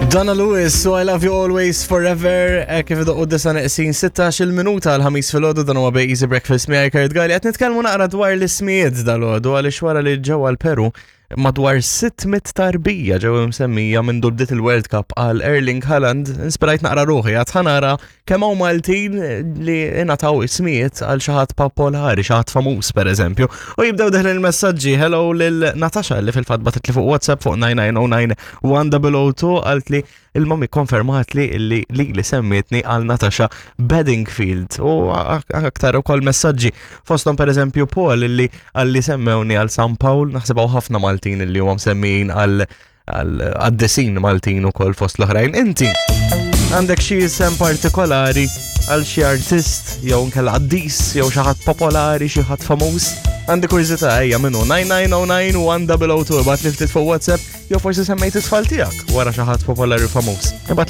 Donna Lewis, so I love you always forever, eh, kif idoqqu disa neqsin 16 il-minuta għal-ħamis fil-ħodu dan huwa Bej Easy Breakfast miegħi Kurt Gali qed nitkellmu naqra dwar l-ismijiet dal-ħodu għaliex wara li ġewwa l-Peru madwar 600 tarbija ġew imsemmija minn bdiet il-World Cup għal Erling Haaland, inspirajt naqra ruħi għad ħanara kemm hawn Maltin li ingħataw ismijiet għal xi ħadd popolari, xi ħadd famuż pereżempju. U jibdew deħlin il-messaġġi hello lil Natasha li fil-fatt bagħtet li fuq WhatsApp fuq 9909 1002 qalt li il-mami konfermat li li li li semmietni għal Natasha Bedingfield u aktar ukoll messaġġi fosthom pereżempju Paul li għal li semmewni għal San Paul naħseb hawn ħafna Maltin li huma msemmijin għal għad-desin Maltin ukoll fost l-oħrajn. Inti għandek xi isem partikolari għal xi artist jew nkella qaddis jew xi ħadd popolari, xi ħadd famuż? Għandi kurżità ejja minnu 9909 1002 bat li ftit fuq WhatsApp jew forsi semmejt it-tfal tiegħek wara xi ħadd popolari famuż. Ibgħat.